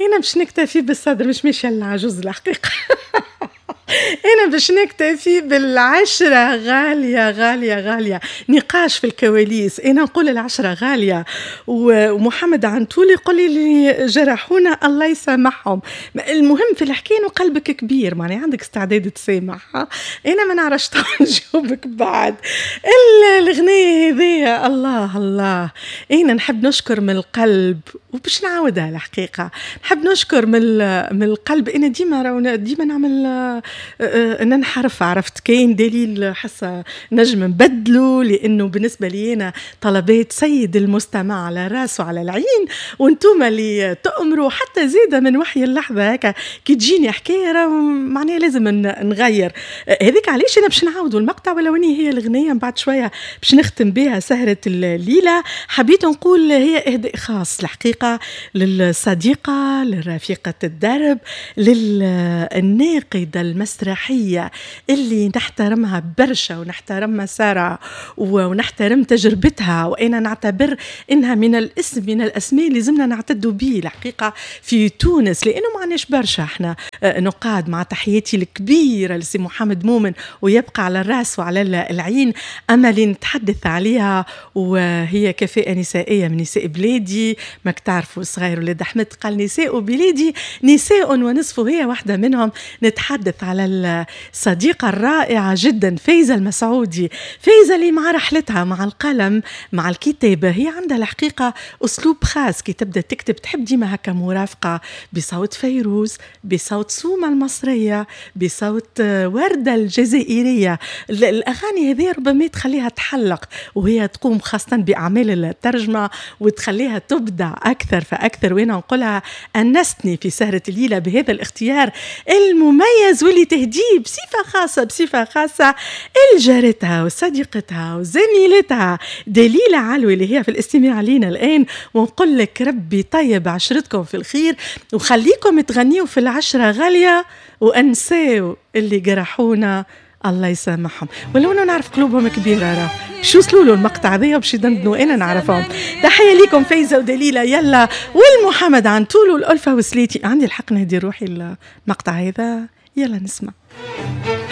انا باش نكتفي بالصدر، مش ماشية للعجوز الحقيقه. انا باش نكتفي بالعشرة غالية غالية غاليه. نقاش في الكواليس، انا نقول العشرة غالية ومحمد عنتول يقول لي اللي جرحونا الله يسامحهم. المهم في الحكاية انه قلبك كبير، معناها عندك استعداد تسامح. انا ما نعرفش، نجاوبك بعد الغنية هذيا. الله الله، انا نحب نشكر من القلب وباش نعاودها الحقيقه، نحب نشكر من القلب. انا ديما ديما نعمل ننحرف، عرفت؟ كاين دليل حاسه نجم نبدلو، لانه بالنسبة لي انا طلبات سيد المستمع على راسه وعلى العين، وانتم اللي تأمروا. حتى زيادة من وحي اللحظة هكا كي تجيني حكاية معناها لازم نغير. هذيك علاش انا باش نعاودوا المقطع، ولو اني هي الغنية من بعد شوية باش نختم بها سهره الليله. حبيت نقول هي اهداء خاص الحقيقة للصديقه، لرفيقه الدرب، للناقده المسرحية اللي نحترمها برشا ونحترم مسارها ونحترم تجربتها، وانا نعتبر انها من الاسم من الاسماء اللي لازمنا نعتدوا به الحقيقة في تونس، لانه ما عندناش برشا احنا نقاد. مع تحياتي الكبيرة لسي محمد مومن ويبقى على الراس وعلى العين، اما اللي نتحدث عليها وهي كفاءة نسائية من نساء بلادي. ماك تعرفوا صغير ولاد احمد قال نساء بلادي نساء ونصف، هي واحدة منهم. نتحدث على الصديقة الرائعة جدا فايزه المسعودي. فايزه اللي مع رحلتها مع القلم مع الكتابه، هي عندها الحقيقة اسلوب خاص كي تبدا تكتب، تحب ديما هكا مرافقة بصوت فيروز، بصوت سومه المصريه، بصوت ورده الجزائريه. الاغاني هذه ربما تخليها تحلق وهي تقوم خاصة باعمال الترجمة وتخليها تبدع اكثر فاكثر. وانا نقولها انستني في سهره الليلة بهذا الاختيار المميز واللي تهديه بصفة خاصة بصفة خاصة لجارتها وصديقتها وزميلتها دليله علوي اللي هي في الاستماع لينا الان. ونقول لك ربي طيب عشرتكم في الخير وخليكم تغنيوا في العشرة غالية وانساو اللي جرحونا الله يسامحهم، ولو انه نعرف قلوبهم كبيرة راه باش يوصلوا له المقطع هذايا باش يدندنوا، انا نعرفهم. تحية لكم فايزه ودليله، يلا والمحمد عنتول والالفة وسليتي. عندي الحق نهدي روحي المقطع هذا، يلا نسمع.